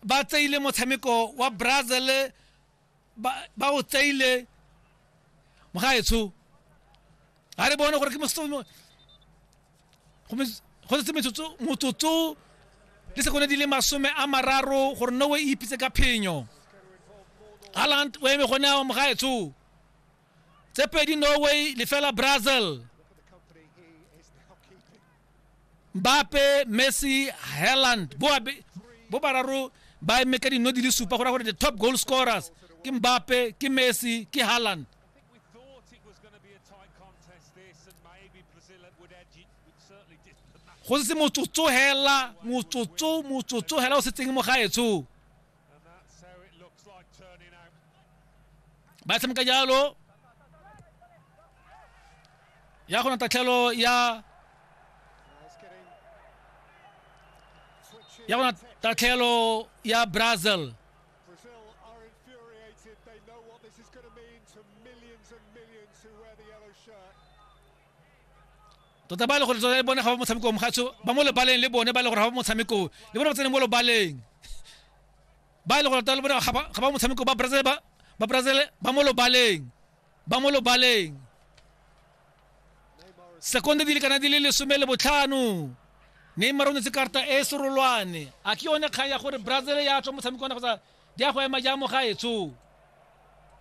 Ba tseile motshameko wa Brazil ba o tseile mogaetsho. Ga re bone gore ke go setse metsotso motsotso le sekonde di le 30 gore Norway e ipitse ka phenyo. Haaland o eme gone ao mogaetsho. Tse 2 Norway 0 Brazil. Mbappe, Messi, Haaland bo bararo ba eme ka dino di le supa go raya gore the top goal scorers ke Mbappe, ke Messi, ke Haaland. Go setse motsotso hela, motsotso, motsotso hela o setseng mo gaetsho. Ba tshameka jalo ya go na tatlhelo ya ya go na tatlhelo ya Brazil. Tota ba e le gore tota le bone ga ba motshameko mogatso ba mo lebaleng, le bone ba e le gore ga ba motshameko, le bone ba tsene mo lebaleng, ba e le gore tota le bone ga ba motshameko ba Brazil, ba Brazil ba mo lebaleng, ba mo lebaleng. Sekonde di le kana di le 15. Neymar o netse karta e serolwane. A ke yone kgang ya gore Brazil ya tswa motshameko ona kgotsa di ya go ema jang mo gaetsho?